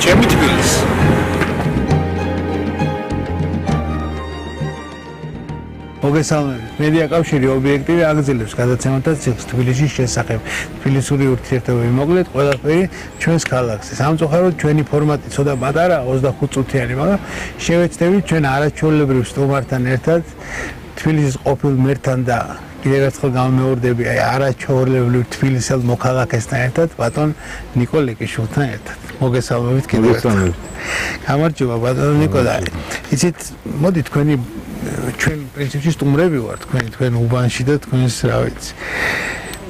ჩემი თბილისი. მოგესალმებით. მედია კავშირი ობიექტივი აგრძელებს გადაცემათა ციკლს თბილისის შესახებ. თბილისური ურთიერთობები მოკლედ ყველაფერი ჩვენს ქალაქზე. სამწუხაროდ ჩვენი ფორმატი ცოტა პატარა 25 წუთიანი, მაგრამ შევეცდებით ჩვენ არაჩვეულებრივ სტუმართან ერთად თბილისის ყოფილ მერთან და კიდევ ერთხელ გამომეორდები არაჩვეულებრივ თბილისელ მოქალაქესთან ერთად ბატონ ნიკო ლეკიშვილთან ერთად. მოგესალმებით კიდევ ერთხელ. გამარჯობა ბატონ ნიკო და იცით მოდი თქვენი ჩვენ პრინციპში სტუმრები ვართ თქვენ უბანში და თქვენს რა ვიცი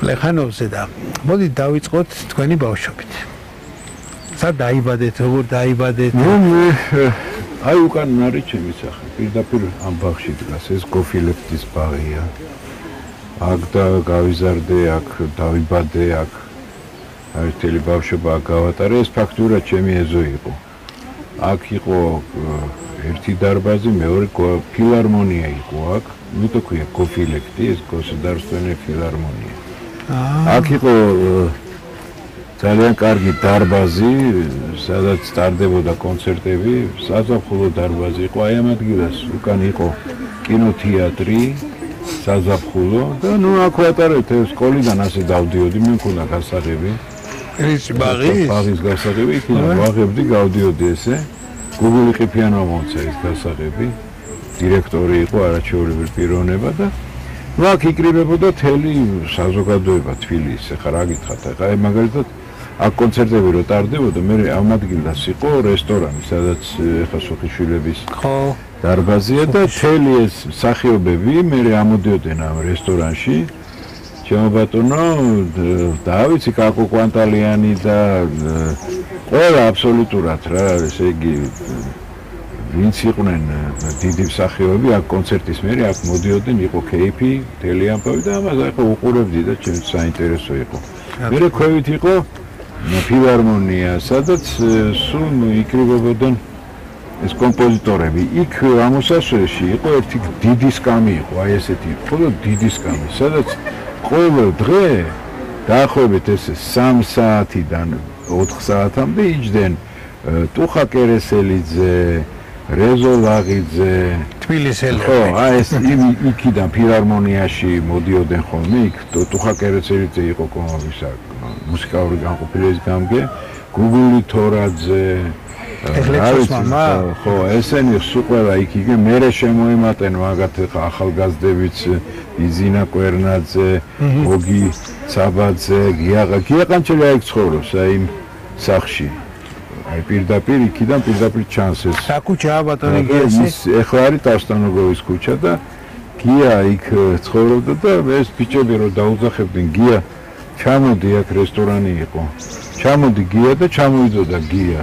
პლეხანოვზე და მოდი დავიწყოთ თქვენი ბავშვობით. სად დაიბადეთ, როგორ დაიბადეთ? აი უკან არის ჩემი სახე. პირდაპირ ამ ბაღში დგას ეს გოფილეფტის ბაღია. აქ და გავიზარდე, აქ დავიბადე, აქ ერთელი ბავშვობა გავატარე. ეს ფაქტურად ჩემი ეზო იყო. აქ იყო ერთი დარბაზი, მეორე ფილარმონია იყო აქ. ნუ ქვია გოფილექტი, ეს გოსუდარსტვენი ფილარმონია. აქ იყო ძალიან კარგი დარბაზი, სადაც ტარდებოდა კონცერტები, საზაფხულო დარბაზი იყო. აი ამ ადგილას უკან იყო კინოთეატრი, საზაფხულო და ნუ აქ ვატარებთ სკოლიდან ასე დავდიოდი, მე მქონდა გასაღები. ეს ბაღის გასაღები, იქიდან ვაღებდი, გავდიოდი ესე. გუგული ყიფიანმა მომცა ეს გასაღები, დირექტორი იყო არაჩვეულებრივი პიროვნება და ნუ აქ იკრიბებოდა თელი საზოგადოება თბილისის. ეხლა რა გითხრათ, ეხლა მაგალითად აქ კონცერტები რო ტარდებოდა, მე ამ ადგილას იყო რესტორანი, სადაც ეხლა სუხიშვილების დარბაზია და თელი ეს მსახიობები მე ამოდიოდნენ ამ რესტორანში. ჩემო ბატონო, დავიცი კაკო კვანტალიანი და ყველა აბსოლუტურად რა, ესე იგი ვინც იყვნენ დიდი მსახიობები აქ კონცერტის მერე აქ მოდიოდნენ, იყო კეიფი, მთელი ამბავი და ამას ახლა უყურებდი და ჩემს საინტერესო იყო. მერე ქვევით იყო ფილარმონია, სადაც სულ იკრიბებოდნენ ეს კომპოზიტორები. იქ ამოსასვლელში იყო ერთი დიდი სკამი იყო, აი ესეთი იყო დიდი სკამი, სადაც ყოველ დღე დაახლოებით ეს 3 საათიდან 4 საათამდე იჯდნენ ტუხა კერესელიძე, რეზო ლაღიძე, თბილისელები. ხო, აი ეს იქიდან ფილარმონიაში მოდიოდნენ ხოლმე, იქ ტუხა კერესელიძე იყო კომპოზიტორი, მუსიკალური განყოფილების გამგე, გუგული თორაძე, ეხლეცოს მამა? ხო, ესენი სულ ყველა იქ იგე, მერე შემოემატენ მაგათ ახალგაზრდებიც, იზინა კვერნაძე, გოგი ცაბაძე, გიაყანჩელი აი ცხოვრობს აი იმ სახლში. აი პირდაპირ იქიდან პირდაპირ ჩანს ეს. რა ქუჩაა ბატონი გიას? ეხლა არის ტავსტანოგოვის ქუჩა და გია იქ ცხოვრობდა და ეს ბიჭები რო დაუძახებდნენ გია, ჩამოდი აქ რესტორანი იყო. ჩამოდი გია და ჩამოიდოდა გია.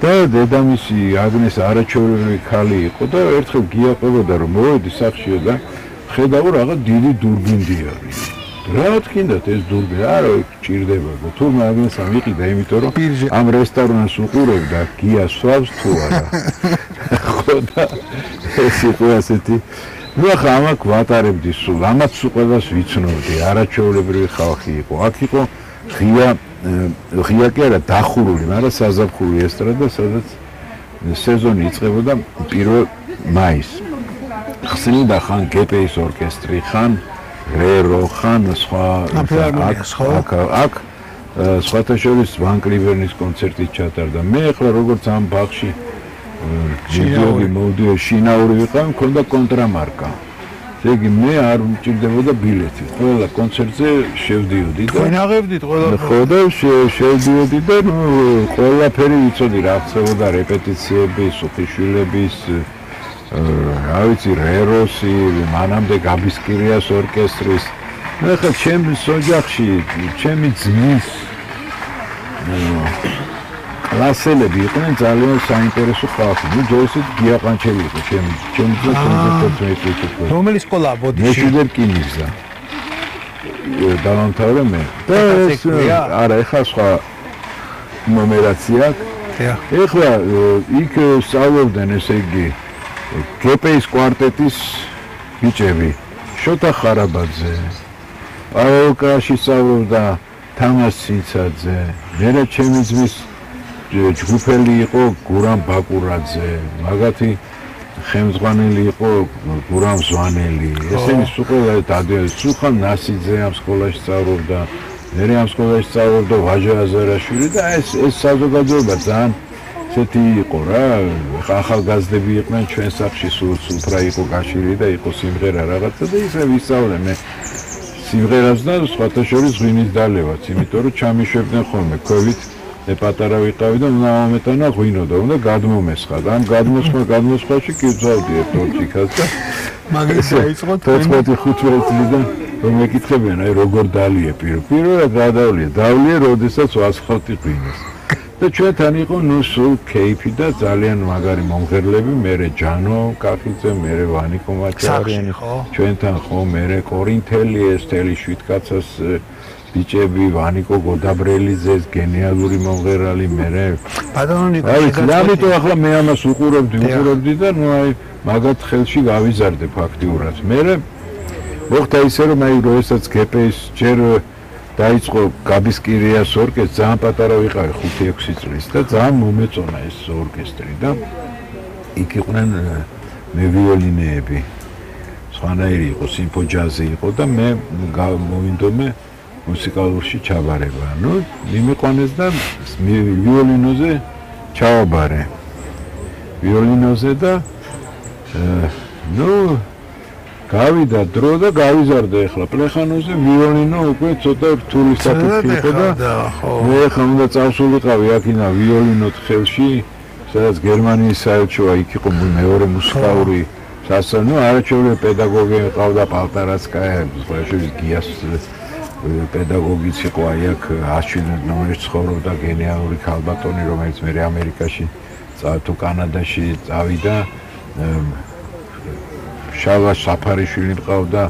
და დედამისი აგნეს არაჩვეულებრივი ქალი იყო და ერთხელ გია ყვებოდა რომ მოვედი სახლშიო და ხედავ რაღაც დიდი დურბინდი არის. რა თქინდათ ეს დურბინი? არა, ჭირდება და თურმე აგნეს ამიყიდა, იმიტომ რომ ამ რესტორანს უყურებდა გია სვავს თუ არა. ხო და ეს იყო ასეთი. ნუ ახლა ამაკ ვატარებდი სულ, ამაც სულ ყველას ვიცნობდი, არაჩვეულებრივი ხალხი იყო. აქ იყო ღია კი არა დახურული, მაგრამ საზაფხული ესტრადა, სადაც სეზონი იწყებოდა 1 მაისს. ხსნიდა ხან გპ-ის ორკესტრი, ხან რერო, ხან სხვა აქ სხვათა შორის ვან კლიβერნის კონცერტი ჩატარდა. მე ახლა როგორც ამ ბაღში მოვდიოდი, შინაური ვიყავ, მქონდა კონტრამარკა. ესე იგი მე არ მჭირდებოდა ბილეთი. ყველა კონცერტზე შევდიოდი და თქვენ აღებდით ყველა? ხო და შევდიოდი და ყველაფერი ვიცოდი რა ხდებოდა რეპეტიციები, სუხიშვილების, რა ვიცი, რეროსი, მანამდე გაბისკირიას ორკესტრის. ახლა ჩემს ოჯახში, ჩემი ძმის კლასელები იყვნენ ძალიან საინტერესო ხალხი. ნუ ჯერ გიაყანჩელი იყო ჩემი ძმა, რომელი სკოლაა ბოდიში? მეშვიდე რკინიგზა. დავამთავრე მე. და არა, ეხლა სხვა ნომერაცია. ეხლა იქ სწავლობდნენ, ესე იგი, გპ-ის კვარტეტის ბიჭები, შოთა ხარაბაძე, პაველკაში სწავლობდა თამაზ სიცაძე, მერე ჩემი ძმის ჯგუფელი იყო გურამ ბაკურაძე, მაგათი ხელმძღვანელი იყო გურამ ზვანელი. ესენი სულ ყველა დადიოდნენ. სულხან ნასიძე ამ სკოლაში სწავლობდა, მე ამ სკოლაში სწავლობდა ვაჟა აზარაშვილი და ეს საზოგადოება ძალიან ესეთი იყო რა, ახალგაზრდები იყვნენ ჩვენ სახლში სულფრა იყო გაშლილი და იყო სიმღერა რაღაცა და ისე ვისწავლე მე სიმღერას და სხვათა შორის ღვინის დალევაც, იმიტომ რომ ჩამიშვებდნენ ხოლმე ქვევით მე პატარა ვიყავი და უნდა ამეტანა ღვინო და უნდა გადმომესხა და ამ გადმოსხვაში კი ვძავდი ერთ ორჩიქას და მაგის დაიწყო 14-15 წლიდან რომ მეკითხებიან აი როგორ დალიე პირველად დავლიე როდესაც ვასხავდი ღვინოს და ჩვენთან იყო ნუ სულ კეიფი და ძალიან მაგარი მომღერლები მერე ჯანო კახიძე მერე ვანიკო მაჭარიანი ჩვენთან ხო მერე კორინთელი ეს თელი შვიდკაცას ბიჭები ვანიკო გოდაბრელიძეს გენიალური მომღერალი მერე ბატონო ნიკო ამიტომ ახლა მე ამას უყურებდი და ნუ აი მაგათ ხელში გავიზარდე ფაქტიურად მერე მოხდა ისე რომ აი როდესაც გპ-ის ჯერ დაიწყო გაბისკირიას ორკესტრი ძალიან პატარა ვიყავი 5-6 წლის და ძალიან მომეწონა ეს ორკესტრი და იქ იყვნენ მე ვიოლინეები სხვანაირი იყო სიმფოჯაზი იყო და მე მოვინდომე მუსიკალურში ჩაბარება. ნუ მიმიყვანეს და ვიოლინოზე ჩავაბარე. ვიოლინოზე და ნუ გავიდა დრო და გავიზარდე ახლა პლეხანოზე ვიოლინო უკვე ცოტა რთული საკითხი იყო და მე ახლა უნდა წავსულიყავი აქინა ვიოლინოთ ხელში, სადაც გერმანიის საელჩოა იქ იყო მეორე მუსიკალური სასწავლო, არაჩვეულებრივი პედაგოგი ყავდა პალტარაცკაია, შეიძლება გიას პედაგოგიც იყო აი აქ 107 ნომერში ცხოვრობდა გენიალური ქალბატონი რომელიც მე ამერიკაში თუ კანადაში წავიდა შავა საფარიშვილი მყავდა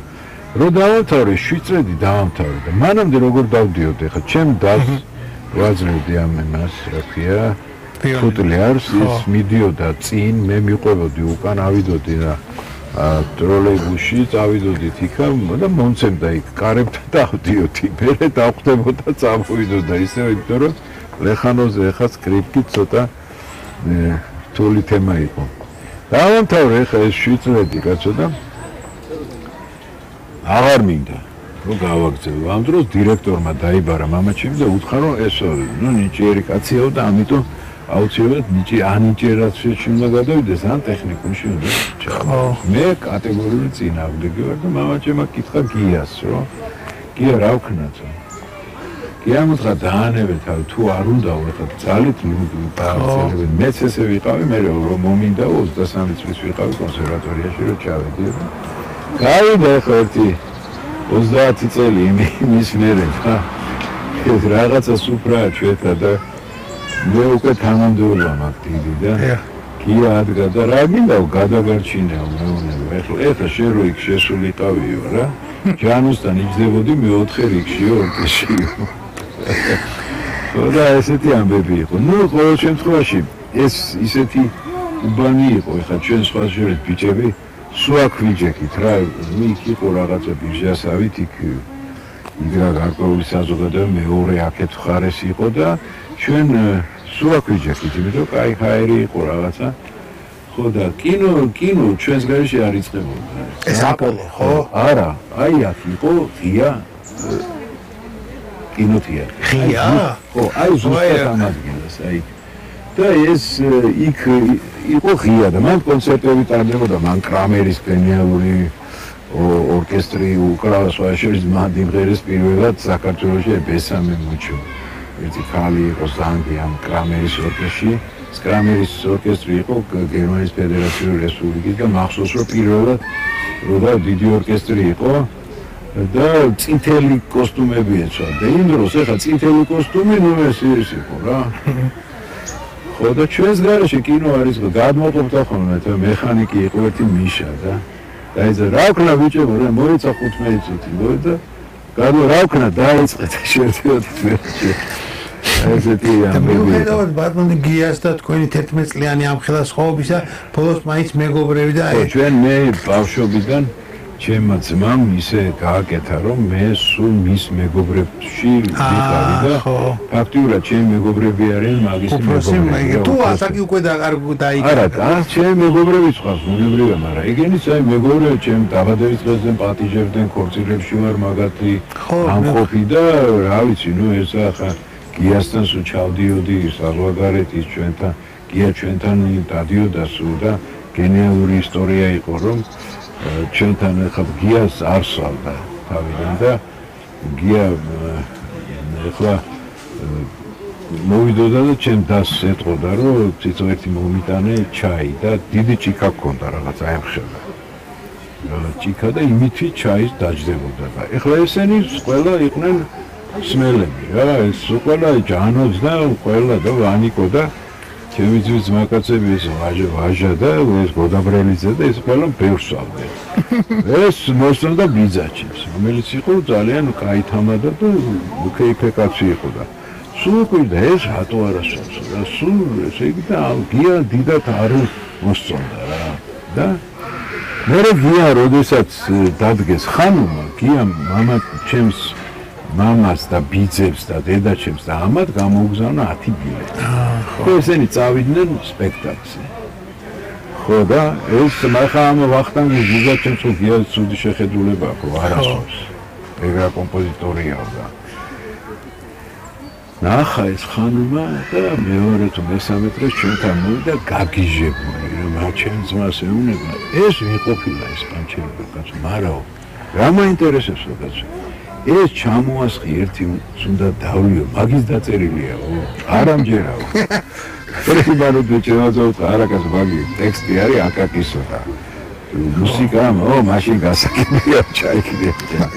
რო დავამთავრე 7 წელი დავამთავრე და მანამდე როგორ დავდიოდი ხა ჩემ დას ვაძლევდი ამ მას რა ქვია ფუტლიარს ის მიდიოდა წინ მე მიყვებოდი უკან ავიდოდი და ტროლეიბუსში წავიდოდით იქა და მომცემდა იქ კარებთან დავდიოდი მერე დავხვდებოდა წავიდოდა ისე იმიტომ რომ ლეხანოზე ხა სკრიპტი ცოტა თული თემა იყო დავამთავრე ხა ეს 7 წელი კაცო და აღარ მინდა რომ გავაგზავნო ამ დროს დირექტორმა დაიბარა მამაჩემი და უთხრა რომ ესო ნუ ნიჭიერი კაციაო და ამიტომ აუცილებლად ანიჭერაც შეიძლება გადავიდეს ან ტექნიკუმში უნდა ჩავა. მე კატეგორიული წინააღმდეგი ვარ და მამაჩემმა კითხა გიას რომ გია რა ვქნათო. გია მოთხრა დაანებე თავი თუ არ უნდა ხა ძალით დააწერები მეც ესე ვიყავი მე რომ მომინდა 23 წლის ვიყავი კონსერვატორიაში რომ ჩავედი. გავიდა ხო ერთი 30 წელი იმის მერე და ეს რაღაცა სუფრაა ჩვენთან და მე უკვე თანამდებობა მაქვს დიდი და გია ადგა და რა მინდა გადაგარჩინეო მეუნება ეხლა შენ რო იქ შესულიყავიო რა ჯანოსთან იჯდებოდი მე 4 რიგშიო ორკესტრშიო და ესეთი ამბები იყო ნუ ყოველ შემთხვევაში ეს ისეთი უბანი იყო ეხლა ჩვენ სხვა შორის ბიჭები სულ აქ ვიჯექით რა იქ იყო რაღაცა ბიჟასავით იქ იგრა გარკვეული საზოგადოება მეორე აქეთ ხარეს იყო და ჩვენ სულ აქ ვიჯექით იმიტომ კაი ხაერი იყო რაღაცა ხო და კინო ჩვენს გარეშე არ იწყებოდა ეს აპოლო ხო არა აი აქ იყო ღია კინოთეატრი ღია ხო აი ზუსტად ამ ადგილას აი და ეს იქ იყო ღია და მან კონცერტები ტარდებოდა მან კრამერის გენიალური ორკესტრი უკრავს შორის მადიმღერის პირველად საქართველოში ბესამე მუჩო ერთი ქალი იყო ზანგი ამ კრამერის ორკესტრში კრამერის ორკესტრი იყო გერმანიის ფედერაციული რესპუბლიკის და მახსოვს რომ პირველად როდა დიდი ორკესტრი იყო და წითელი კოსტუმები ეცვა და იმ დროს ეხა წითელი კოსტუმი ნუ ეს იყო რა ხო და ჩვენს გარეშე კინო არის გადმოყოფდა ხოლმე და მექანიკი იყო ერთი მიშა და დაიძა რა ვქნა ბიჭებო რა მოიცა 15 წუთი მოიდა გადო რა ვქნა დაიწყეთ შევდიოდით ვერჩი ესეთი ამბები მოხდა ბატონი გიას და თქვენი 11 წლიანი ამხელა სხვაობისა ბოლოს მაინც მეგობრები და ჩვენ მე ბავშვობიდან ჩემმა ძმამ ისე გააკეთა, რომ მე სულ მის მეგობრებში ვიყავი და ფაქტიურად ჩემი მეგობრები არიან მაგის მეგობრები. თუ ასაკი უკვე დაიკარგა. არა, ჩემი მეგობრებიც ხავს, უნებრივია, მაგრამ ეგენიც აი მეგობრები ჩემ დაბადების დღესზე პატიჟებდნენ, ქორწილებში ვარ მაგათი ამყოფი და რა ვიცი, ნუ ეს ახლა გიასთან სულ ჩავდიოდი საზღვარგარეთის ჩვენთან, გია ჩვენთან დადიოდა სულ და გენიალური ისტორია იყო, რომ ჩვენთან ახლა გიას არ სვავდა თავიდან და გია ახლა მოვიდოდა და ჩემ დასს ეტყოდა, რომ თვითონ ერთი მომიტანე ჩაი და დიდი ჭიქა ჰქონდა რაღაც აემხება. ჭიქა და იმითი ჩაის დაჯდებოდა და ახლა ესენი ყველა იყვნენ სმელები რა, ეს ყველა ჯანოც და ყველა და ვანიკო და ჩემი ძმის ძმაკაცები ეს ვაჟა და ეს გოდაბრელიძე და ეს ყველა ბევრს ვავდნენ. ეს მოსწონდა ბიძაჩებს, რომელიც იყო ძალიან კაი თამადა და უქეიფე კაცი იყო და სულ გვიდა ეს რატო არა სულს რა, სულ ესე იგი და გია დიდად არ მოსწონდა რა და მე გია როდესაც დადგეს ხანუმა, გია მამა ჩემს მამას და ბიძებს და დედაჩემს და ამათ გამოუგზავნა 10 ბილეთი. ხო, ესენი წავიდნენ სპექტაკლზე. ხო და ეს მაგა ამ ვახტანგის ბიძაჩემს გია ცუდი შეხედულება აქვს, არასდროს. ეგრა კომპოზიტორია და ნახა ეს ხანუმა და მეორე თუ მესამე დღეს ჩვენთან მოვიდა გაგიჟებული, რომ ჩემ ძმას ეუბნება, ეს ვიყოფილა ეს პანჩერობა კაცო, მარაო, რა მაინტერესებს კაცო? ეს ჩამოასხი ერთი უნდა დავლიო, მაგის დაწერილიაო, არ ამჯერაო. ერთი ბაროდე ჩავაძავ არაკას მაგი ტექსტი არის აკაკისო და მუსიკა, მაშინ გასაგებია ჩაიქნია.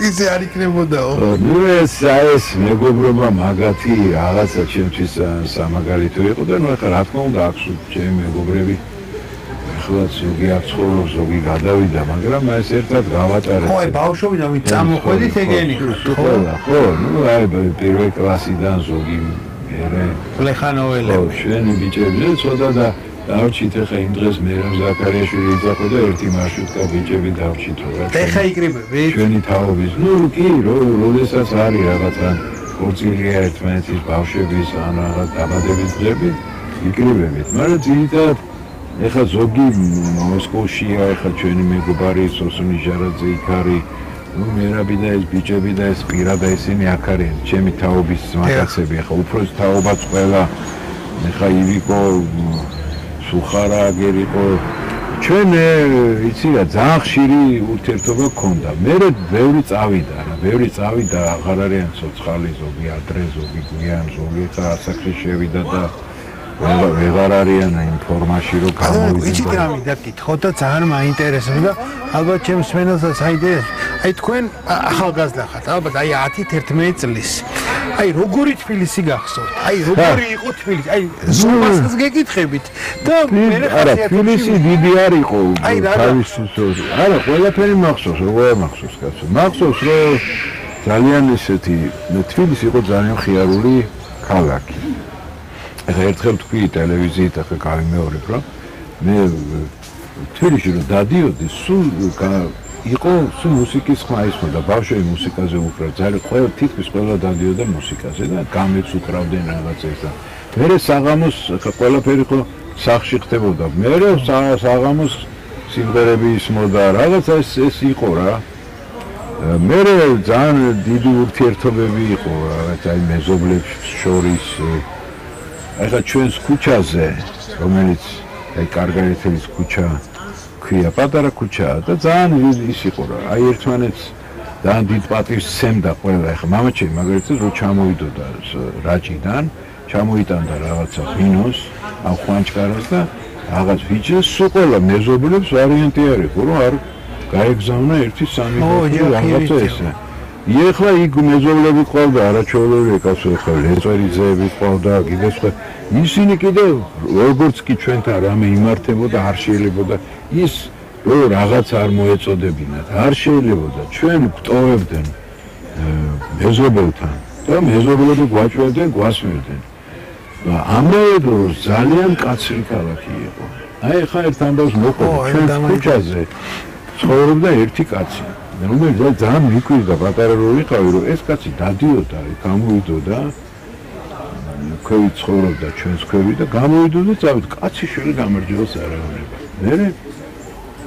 ისე არ იქნებოდაო. ნუ ეს მეგობრობა მაგათი რაღაცა ჩემთვის სამაგალითო იყო და ნუ ახლა რა თქმა უნდა აქვს ჩემი მეგობრები. ახლა ზოგი არ ცხოვრობს, ზოგი გადავიდა, მაგრამ ეს ერთად გავატარეთ. ხო, ბავშვობიდან ვით წამოხვედით ეგენი. ხო, ნუ აი პირველი კლასიდან ზოგი მერე ლეხანოველები. შენი ბიჭებზე ცოტა და დავრჩით ახლა იმ დღეს მერაბ ზაქარიაშვილი იძახო და ერთი მარშრუტკა ბიჭები დავრჩით რა. ეხა იკრიბებით? ჩვენი თაობის. ნუ კი, როდესაც არის რაღაცა ქორწილია ერთმანეთის ბავშვების ან რაღაც დაბადების დღეები, იკრიბებით. მაგრამ ძირითადად ეხლა ზოგი მოსკოვშია, ეხლა ჩვენი მეგობარი სოსუნი ჟარაძე იქ არის. ნუ მერაბი და ეს ბიჭები და ეს პირა და ისინი აქ არიან, ჩემი თაობის მაკაცები. ეხლა უფროს თაობაც ყველა ეხლა ივიკო სუხარა აგერიყო ჩვენ იცი რა ძალიან ხშირი ურთიერთობა გქონდა. მე ბევრი წავიდა, აღარ არიან ცოცხალი, ზოგი ადრე, ზოგი გვიან, ზოგი ხა ასაკში შევიდა და ვეღარ არიან იმ ფორმაში რომ გამოვიდნენ. იცით რა მინდა გითხო და ძალიან მაინტერესებს და ალბათ ჩემს მენელსაც აინტერესებს. აი თქვენ ახალგაზრდა ხართ, ალბათ აი 10-11 წლის. აი როგორი თბილისი გახსოვთ? აი როგორი იყო თბილისი? აი ზუმასაც გეკითხებით და მე არა თბილისი დიდი არ იყო. არა ყველაფერი მახსოვს, როგორ მახსოვს კაცო. მახსოვს რომ ძალიან ესეთი თბილისი იყო ძალიან ხიარული ქალაქი. ეხლა ერთხელ თქვი ტელევიზიით ახლა გავიმეორებ რომ მე თბილისში რომ დადიოდი სულ იყო სულ მუსიკის ხმა ისმოდა ბავშვები მუსიკაზე უკრავდნენ ძალიან ყველა თითქმის ყველა დადიოდა მუსიკაზე და გამეც უკრავდნენ რაღაცას და მე საღამოს ახლა ყველაფერი ხო სახში ხდებოდა მე საღამოს სიმღერები ისმოდა რაღაც ეს იყო რა მე ძალიან დიდი ურთიერთობები იყო რაღაც აი მეზობლებს შორის ახლა ჩვენს ქუჩაზე რომელიც აი კარგარეთელის ქუჩა ქვია პატარა ქუჩაა და ძალიან ის იყო რა აი ერთმანეთს ძალიან დიდ პატივს სცემდა ყველა ახლა მამაჩემი მაგალითად რო ჩამოვიდოდა რაჭიდან ჩამოიტანდა რაღაცა ვინოს ამ ხვანჭკარას და რაღაც ვიჭეს სულ ყველა მეზობლებს ვარიანტი არ იყო რომ არ გაეგზავნა 1-3 რაღაცა ესე ეხლა იქ მეზობლები ყავდა არაჩვეულებრივი კაცო ეხლა ლეწერიძეები ყავდა კიდეც ისინი კიდე როგორც კი ჩვენთან რამე იმართებოდა არ შეიძლებოდა ის რო რაღაც არ მოეწოდებინათ არ შეიძლებოდა ჩვენ გვტოვებდნენ მეზობელთან და მეზობლები გვაჭვევდნენ გვასმევდნენ და ამავე დროს ძალიან კაცრი ქალაქი იყო აი ხა ერთ ამბავს მოყვა ჩვენ ქუჩაზე ცხოვრობდა ერთი კაცი. რომელიც ძალიან მიკვირდა პატარა რო ვიყავი, რომ ეს კაცი დადიოდა, გამოვიდოდა, ქვევით ცხოვრობდა ჩვენს ქვევით და გამოვიდოდა და წავით კაცი შვილი გამარჯვებას არ აღუნება. მერე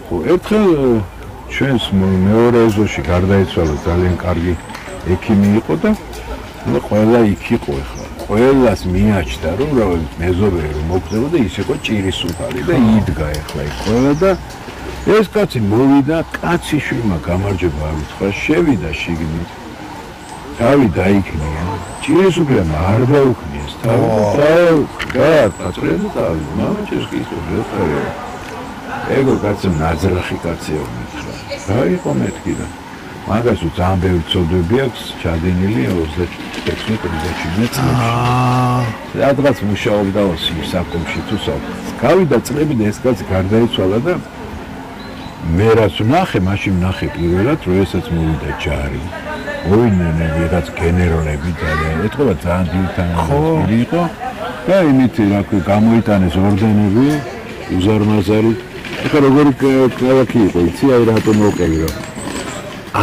ხო ერთხელ ჩვენს მეორე ეზოში გარდაიცვალა ძალიან კარგი ექიმი იყო და ყველა იქ იყო ახლა. ყველას მიაჩნდა რომ მეზობელი რომ მოგდებოდა ის იყო ჭირისუფალი და იდგა ახლა იქ ყველა და ეს კაცი მოვიდა, კაცი შვილმა გამარჯვება არ უთხრა, შევიდა შიგნით. თავი დაიქნია, ჭირისუფლემ არ დაუქნიეს თავი და გააწრედა თავი, მამაჩეს კი ისე ვეწარე. ეგო კაცი ნაძრახი კაცია მითხრა. რა იყო მეთქი და მაგას ძალიან ბევრი ცოდვები აქვს ჩადენილი 26-27 წლებში. რადგან მუშაობდა საკომში თუ საკ. გავიდა წლები და ეს კაცი გარდაიცვალა და მე რაც ვნახე, მაშინ ვნახე პირველად, რომ ესაც მოვიდა ჯარი. მოვიდნენ ვიღაც გენერალები და ეთქობა ძალიან დილთანილი იყო და იმით რა ქვია გამოიტანეს ორდენები, უზარმაზარი. ეხლა როგორი ქალაქი იყო, იცი აი რატომ მოვყევი რომ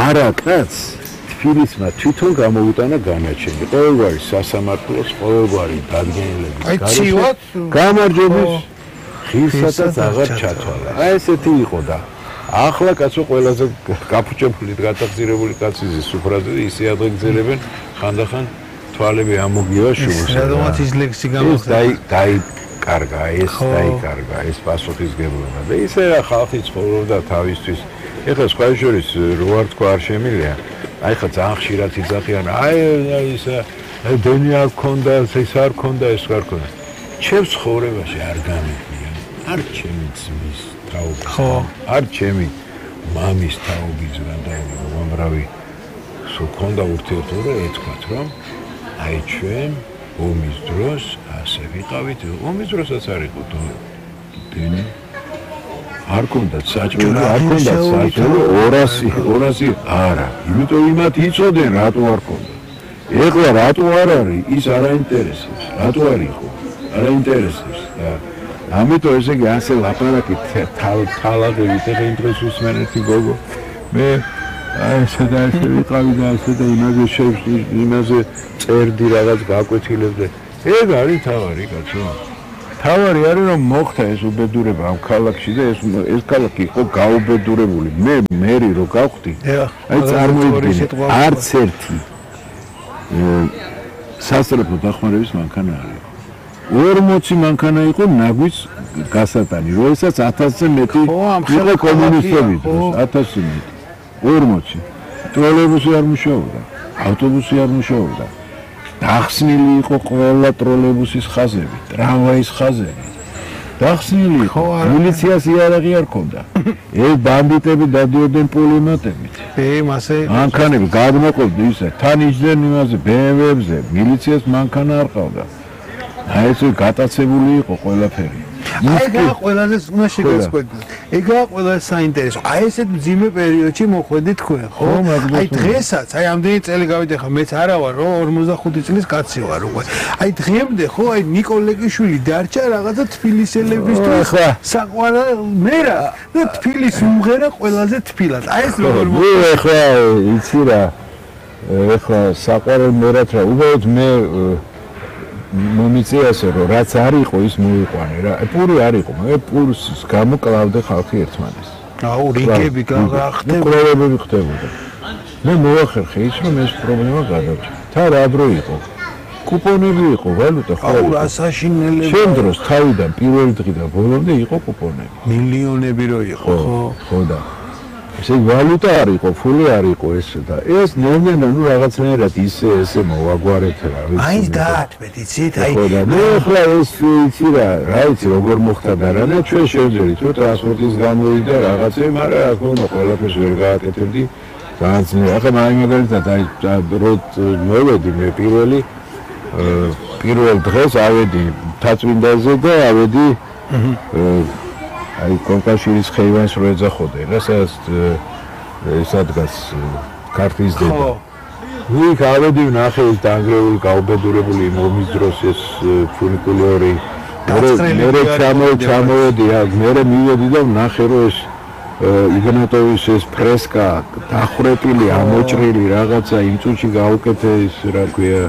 არა კაც თბილისმა თვითონ გამოუტანა განაჩენი. ყოველგვარი სასამართლოს, ყოველგვარი დადგენილების გამარჯვების ხილსადაც აღარ ჩათვალა. აი ესეთი იყო და ახლა კაცო ყველაზე გაფუჭებული გატახზირებული კაცი სუფრაზე ისე ადღეგზელებენ ხანდახან თვალები ამოგივა შუბს. რადგანაც ის ლექსი გამოხდა დაიკარგა ეს პასუხისგებლობა და ისე რა ხალხი ცხოვრობდა თავისთვის. ეხლა სხვა შორის რო არ თქვა არ შემილია. აი ხა ძალიან ხშირად იძახიან აი ისა დენი არ ქონდა, ეს არ ქონდა, ეს არ ქონდა. ჩემს ცხოვრებაში არ გამიგია. არ ჩემი ძმის თაობი. ხო, არ ჩემი მამის თაობი ზრდა უამრავი სულ ქონდა ურთიერთობა ეთქვათ რომ აი ჩვენ ომის დროს ასე ვიყავით, ომის დროსაც არ იყო დენი არ ქონდა საჭმელი, არ ქონდა საჭმელი 200 არა. იმიტომ იმათ იცოდნენ რატო არ ქონდა. ეხლა რატო არ არის ის არ აინტერესებს. რატო არ იყო? არ აინტერესებს და ამიტომ ესე იგი ასე ლაპარაკი თალაღებით ეხლა იმ დროს უსმენ ერთი გოგო მე აი ესე და ესე ვიყავი და ესე და იმაზე წერდი რაღაც გაკვეთილებდი. ეგ არის თავარი კაცო. თავარი არის რომ მოხდა ეს უბედურება ამ ქალაქში და ეს ქალაქი იყო გაუბედურებული. მერი რო გავხდი. აი წარმოიდგინე არც ერთი სასწრაფო დახმარების მანქანა არ იყო. 40 მანქანა იყო ნაგვის გასატანი, როდესაც 1000-ზე მეტი იყო კომუნისტები დროს, 1000-ზე მეტი. 40. ტროლეიბუსი არ მუშაობდა, ავტობუსი არ მუშაობდა. დახსნილი იყო ყველა ტროლეიბუსის ხაზები, ტრამვაის ხაზები. დახსნილი იყო, მილიციას იარაღი არ ქონდა. ეს ბანდიტები დადიოდნენ პულემატებით. მასე მანქანები გადმოყოფდა ისე, თან იჯდნენ იმაზე BMW-ებზე, მილიციას მანქანა არ ყავდა. აი ეს გატაცებული იყო ყველაფერი. ეგაა ყველაზე უნდა შეგეცხვედით. ეგაა ყველაზე საინტერესო. აი ესეთ მძიმე პერიოდში მოხვედი თქვენ, ხო? აი დღესაც, აი ამდენი წელი გავიდე ხა, მეც არა ვარ, რომ 45 წლის კაცი ვარ უკვე. აი დღემდე ხო, აი ნიკოლეკიშვილი დარჩა რაღაცა თბილისელებისთვის საყვარელ მერა და თბილის უმღერა ყველაზე თბილად. აი ეს როგორ მოხდა? ეხლა იცი რა. ეხლა საყვარელ მერად რა, უბრალოდ მე მომიწიასე რომ რაც არ იყო ის მოიყვანე რა. პური არ იყო, მაგრამ პურს გამოკლავდა ხალხი ერთმანეთს. აუ რიგები გახდებოდა. კვლევები ხდებოდა. მე მოახერხე ის რომ ეს პრობლემა გადავჭა. თან რა დრო იყო? კუპონები იყო, ვალუტა ხო? აუ რა საშინელება. შენ დროს თავიდან პირველი დღიდან ბოლომდე იყო კუპონები. მილიონები რო იყო, ხო? ხო და ესე ვალუტა არ იყო, ფული არ იყო ეს და ეს ნელ-ნელა ნუ რაღაცნაირად ისე მოვაგვარეთ რა ვიცი. აი დაათმეთ, იცით, აი მე ახლა ეს იცი რა იცი როგორ მოხდა და რა და ჩვენ შევძლებთ თუ ტრანსპორტის გამოვიდა რაღაცე, მაგრამ რა თქმა უნდა ყველაფერს ვერ გააკეთებდი. ძალიან ძნელი. ახლა მაგალითად აი მოვედი მე პირველ დღეს ავედი თაწმინდაზე და ავედი აი კონკაშირის ხეივანს რო ეძახოდე რა სადაც ადგას ქართლის დედა. იქ ავედი ვნახე ის დაანგრეული გაუბედურებული ომის დროს ეს ფუნიკულორი. მე ჩამოვედი, მე მივედი და ვნახე რომ ეს იგნატოვის ეს ფრესკა დახვრეტილი, ამოჭრილი რაღაცა იმ წუთში გაუკეთე ის რა ქვია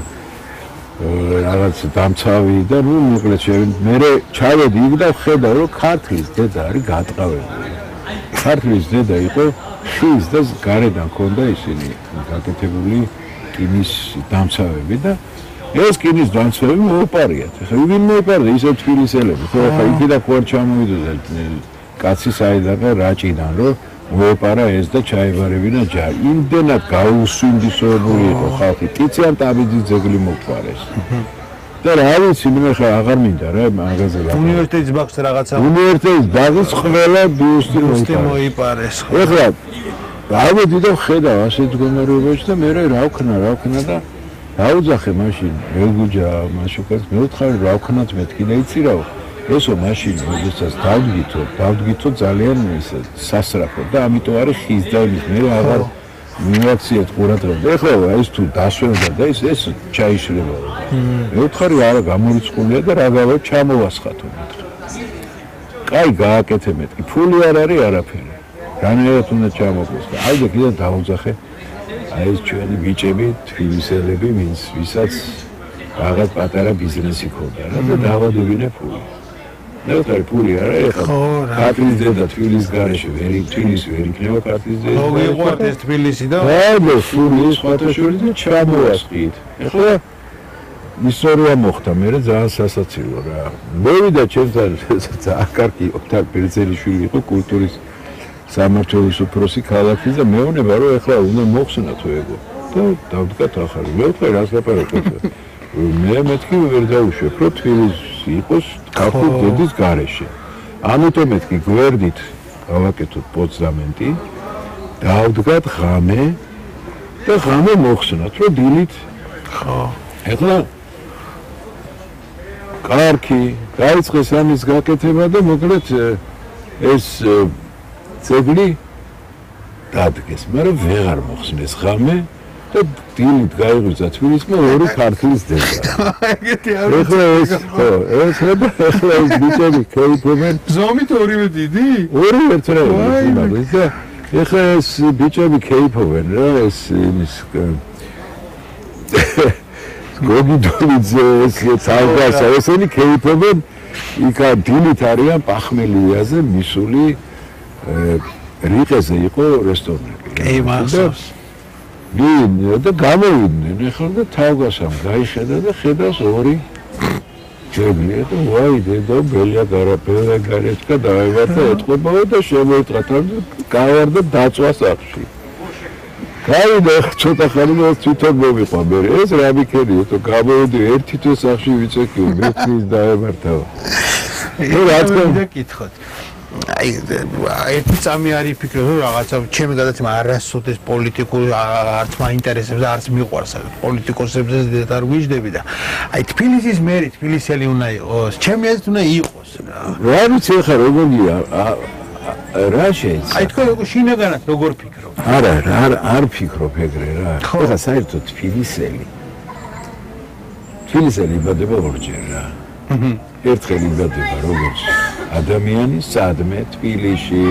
რაღაც დამცავი და ნუ მოკლედ მე ჩავედი იქ და ხედავ რომ ქართლის დედა არის გატყავებული. ქართლის დედა იყო შვილს და გარედან ქონდა ისინი გაკეთებული კინის დამცავები და ეს კინის დამცავები მოუპარიათ. ხა ვინ მოუპარდა ისე თბილისელები. ხო ხა იქიდან ხო არ ჩამოვიდოდა კაცი საიდან რაჭიდან რომ მოეპარა ეს და ჩაებარებინა ჯარი. იმდენად გაუსვინდისოებული იყო ხალხი. ტიციან ტაბიძის ძეგლი მოყვარეს. და რა ვიცი, მე ხა აღარ მინდა რა მაგაზე რა. უნივერსიტეტის ბაღს რაღაცა. უნივერსიტეტის ბაღის ყველა ბიუსტი მოიპარეს. ეხლა გავედი და ხედავ ასეთ მდგომარეობაში და მე რა ვქნა და დაუძახე მაშინ ელგუჯა მაშუკას მე ვთხარი რა ვქნათ მეთქი და იცირავ ესო მაშინ როდესაც დავდგითო ძალიან ისე სასრაფო და ამიტომ არის ხის და იმის მე აღარ მიმაქციეთ ყურადღება და ეხლა ეს თუ დასვენდა და ეს ჩაიშლება მე ვთხარი არა გამორიცხულია და რა გავა ჩამოვასხათო მეთქი კაი გააკეთე მეთქი ფული არ არის არაფერი განერად უნდა ჩამოყვეს და აი და კიდე დაუძახე აი ეს ჩვენი ბიჭები თბილისელები ვისაც რაღაც პატარა ბიზნესი ქონდა რა და დავადებინე ფული ნეუტრალი ფული არა ეხლა ქართლის დედა თბილისის გარეშე თბილისი ვერ იქნება ქართლის დედა მოგიყვართ ეს თბილისი და და ფული სხვათაშორის და ჩამოვასყიდ ეხლა ისტორია მოხდა მე ძალიან სასაცილო რა მოვიდა ჩემთან ძალიან კარგი ოქთარ ბერძელიშვილი იყო კულტურის სამმართველოს უფროსი ქალაქის და მეუბნება რომ ეხლა უნდა მოხსნათ ეგო და დავდგათ ახალი მე ვთქვი რას ლაპარაკობ მე მეთქი ვერ დავუშვებ რომ თბილისი იყოს ქართულ დედის გარეშე ამიტომ მეთქი გვერდით გავაკეთოთ პოსტამენტი დავდგათ ღამე და ღამე მოხსნათ რომ დილით ხო ეხლა კარგი გაიწყეს ამის გაკეთება და მოკლედ ეს ძეგლი დადგეს, მაგრამ ვეღარ მოხსნეს ღამე და დილით გაიღვიძა თბილისმა ორი ქართლის დედა. ეგეთი არ ეხლა ეს ხო, ეხლა ეს ბიჭები ქეიფობენ. ზომით ორივე დიდი? ორივე ერთნაირი და ეხლა ეს ბიჭები ქეიფობენ რა ეს იმის გოგი დოლიძე ეს თავგასა ესენი ქეიფობენ იქ დილით არიან პახმელიაზე მისული რიყეზე იყო რესტორნები. კი, მახსოვს. და გამოვიდნენ ეხლა და თავგასამ გაიხედა და ხედავს ორი ჯეგლია და ვაი დედო ბელია გარეთკა დაევარდა ეთყობაო და შემოიტყა გავარდა დაწვა სახში. გავიდა ცოტა ხანი და თვითონ მოვიყვა მე ეს რა მიქენია თუ გამოვიდი ერთი თვე სახში ვიწექი მეცნის დაევარდა. რა თქმა კითხოთ. აი ერთი წამი არის ფიქრობ რომ რაღაცა ჩემი გადაცემა არასოდეს პოლიტიკურ არც მაინტერესებს და არც მიყვარს პოლიტიკოსებზე ზედათ არ გვიждები და აი თბილისის მერი თბილისელი უნდა იყოს ჩემი აზრით უნდა იყოს რა ვიცი ხა როგორია რა შეიძლება აი თქო როგორ შინაგანად როგორ ფიქრობ არა არ ფიქრობ ეგრე რა ხა საერთოდ თბილისელი იბადება ორჯერ რა ერთხელ იბადება როგორც ადამიანი სადმე თბილისში